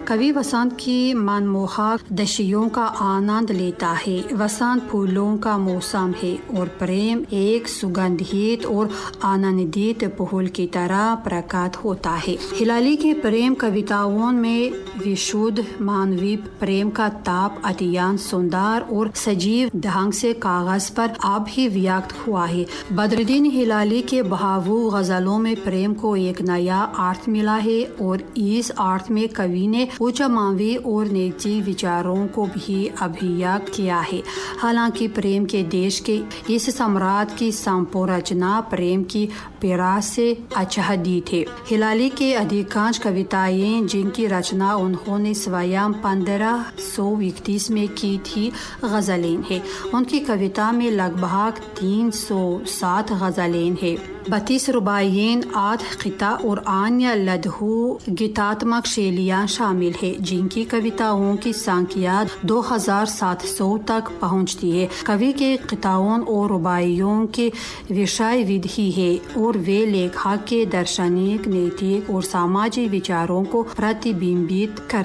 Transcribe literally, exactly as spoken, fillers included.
कवि वसंत की मनमोहक दशियों का आनंद लेता है। वसंत फूलों का मौसम है और प्रेम एक सुगंधित और आनंदित फूल की तरह प्रकट होता है। हिलाली के प्रेम कविताओं में विशुद्ध मानवीय प्रेम का ताप अत्यंत सुंदर और सजीव ढंग से कागज पर अभिव्यक्त हुआ है। बदरुद्दीन हिलाली के भावुक गज़लों में प्रेम को एक नया अर्थ मिला है और इस अर्थ में कवि ने उच्च मानवीय और नैतिक विचारों को भी अभिव्यक्त किया है। हालांकि प्रेम के देश के इस सम्राट की संरचना प्रेम की पीड़ा से आच्छादित है। हिलाली के अधिकांश कविताएं, जिनकी रचना उन्होंने स्वयं पंद्रह सौ इकतीस में की थी, गज़लें हैं। उनकी कविता में लगभग तीन सौ सात गज़लें हैं। बत्तीस रुबाइयें, आठ क़िता और अन्य लघु गीतात्मक शैलियाँ शामिल है, जिनकी कविताओं की संख्या दो हज़ार सात सौ तक पहुँचती है। कवि के क़िताओं और रुबाइयों के विषय विधि है और वे लेखक के दार्शनिक, नैतिक और सामाजिक विचारों को प्रतिबिंबित करते